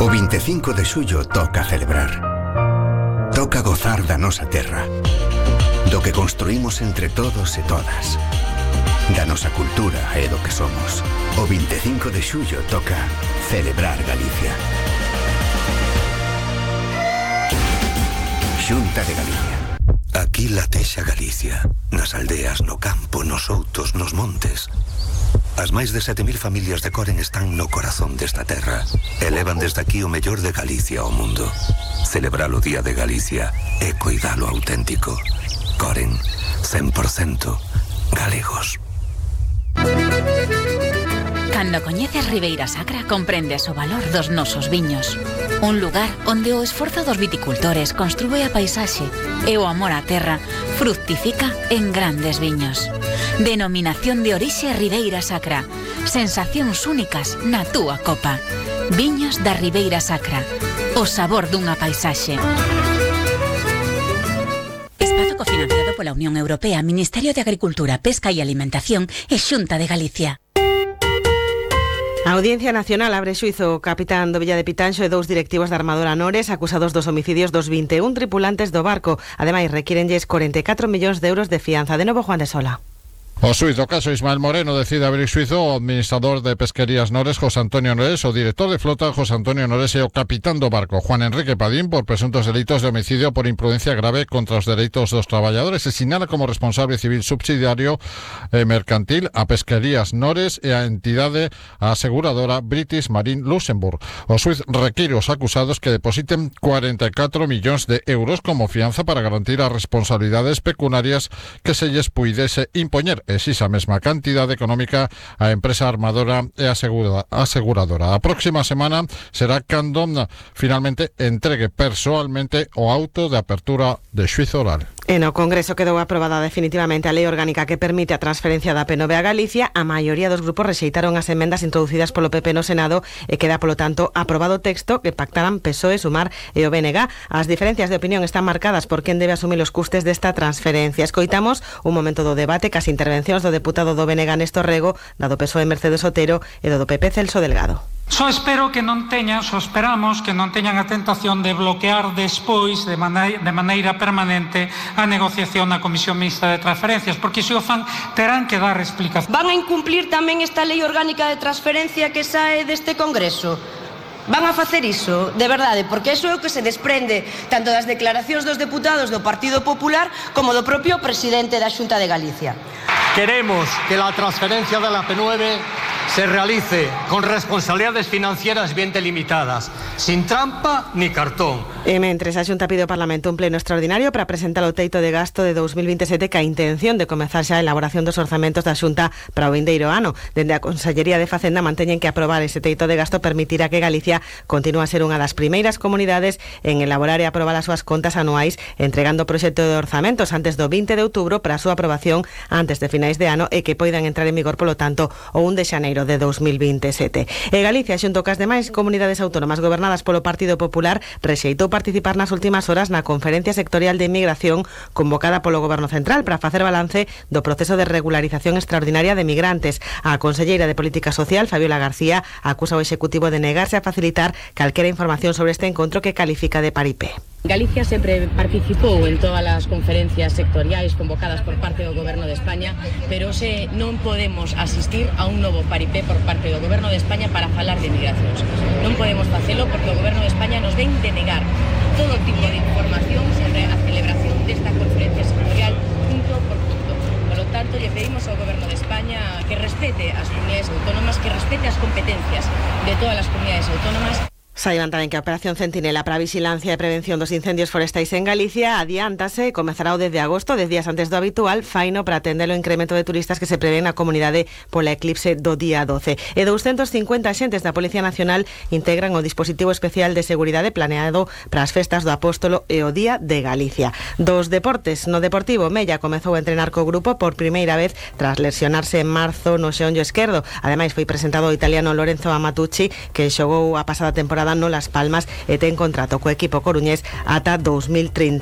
O 25 de xullo toca celebrar. Toca gozar da nosa terra, do que construímos entre todos e todas, da nosa cultura e do que somos. O 25 de xullo toca celebrar Galicia. Xunta de Galicia. Aquí latexa Galicia, nas aldeas, no campo, nos outos, nos montes. As máis de 7.000 familias de Coren están no corazón desta terra. Elevan desde aquí o mellor de Galicia ao mundo. Celebrar o Día de Galicia e coidalo auténtico. Coren, 100% galegos. Cando coñeces Ribeira Sacra, comprendes o valor dos nosos viños. Un lugar onde o esforzo dos viticultores construe a paisaxe e o amor á terra fructifica en grandes viños. Denominación de orixe Ribeira Sacra. Sensacións únicas na túa copa. Viños da Ribeira Sacra. O sabor dunha paisaxe. Espazo cofinanciado pola Unión Europea, Ministerio de Agricultura, Pesca e Alimentación e Xunta de Galicia. A Audiencia Nacional abre xuízo o capitán do Villa de Pitanxo e dous directivos da Armadora Nores acusados dos homicidios dos 21 tripulantes do barco. Ademais, requírenlles 44 millóns de euros de fianza. De novo, Juan de Sola. O xuíz do caso Ismael Moreno decide abrir xuízo o administrador de Pesquerías Nores, José Antonio Nores, o director de flota, José Antonio Nores, e o capitán do barco, Juan Enrique Padín, por presuntos delitos de homicidio por imprudencia grave contra os dereitos dos traballadores, e sinala como responsable civil subsidiario mercantil a Pesquerías Nores e a entidade aseguradora British Marine Luxembourg. O xuíz require aos acusados que depositen 44 millóns de euros como fianza para garantir as responsabilidades pecuniarias que se lles puidese impoñer. Esa mesma cantidade económica a empresa armadora e aseguradora. A próxima semana será cando finalmente entregue persoalmente o auto de apertura de xuízo oral. E no Congreso quedou aprobada definitivamente a lei orgánica que permite a transferencia da PNV a Galicia. A maioría dos grupos rexeitaron as emendas introducidas polo PP no Senado e queda, polo tanto, aprobado o texto que pactaran PSOE, Sumar e o BNG. As diferencias de opinión están marcadas por quen debe asumir os custes desta transferencia. Escoitamos un momento do debate cas intervencións do deputado do BNG Néstor Rego, da do PSOE Mercedes Otero e do PP Celso Delgado. Só esperamos que non teñan a tentación de bloquear despois de maneira permanente a negociación na Comisión Mixta de Transferencias, porque se o fan terán que dar explicación. Van a incumplir tamén esta lei orgánica de transferencia que sae deste Congreso? Van a facer iso, de verdade, porque iso é o que se desprende tanto das declaracións dos deputados do Partido Popular como do propio presidente da Xunta de Galicia. Queremos que la transferencia de la P9 se realice con responsabilidades financieras bien delimitadas, sin trampa ni cartón. E mentres a Xunta pide ao Parlamento un pleno extraordinario para presentar o teito de gasto de 2027 ca intención de comezar xa a elaboración dos orzamentos da Xunta para o vindeiro ano. Dende a Consellería de Facenda manteñen que aprobar ese teito de gasto permitirá que Galicia continúe a ser unha das primeiras comunidades en elaborar e aprobar as súas contas anuais, entregando o proxecto de orzamentos antes do 20 de outubro para a súa aprobación antes de finais de ano e que poidan entrar en vigor, polo tanto, o 1 de xaneiro de 2027. E Galicia, xunto cas demais comunidades autónomas gobernadas polo Partido Popular, rexeitou participar nas últimas horas na Conferencia Sectorial de Inmigración convocada polo Goberno Central para facer balance do proceso de regularización extraordinaria de migrantes. A conselleira de Política Social, Fabiola García, acusa ao Executivo de negarse a facilitar calquera información sobre este encontro que califica de paripé. Galicia sempre participou en todas as conferencias sectoriais convocadas por parte do Goberno de España, pero se non podemos asistir a un novo paripé por parte do Goberno de España para falar de migracións. Non podemos facelo porque o Goberno de España nos ven de negar todo tipo de información sobre a celebración desta conferencia sectorial punto por punto. Por lo tanto, lle pedimos ao Goberno de España que respete as comunidades autónomas, que respete as competencias de todas as comunidades autónomas. Saiban tamén que a Operación Centinela para a vigilancia e prevención dos incendios forestais en Galicia adiántase e comezará o 10 de agosto, 10 días antes do habitual, faino para atender o incremento de turistas que se prevé na comunidade pola eclipse do día 12. E 250 axentes da Policía Nacional integran o dispositivo especial de seguridade planeado para as festas do Apóstolo e o Día de Galicia. Dos deportes, no Deportivo, Mella comezou a entrenar co grupo por primeira vez tras lesionarse en marzo no xeonllo esquerdo. Ademais, foi presentado o italiano Lorenzo Amatucci, que xogou a pasada temporada no Las Palmas e ten contrato co equipo coruñés ata 2030.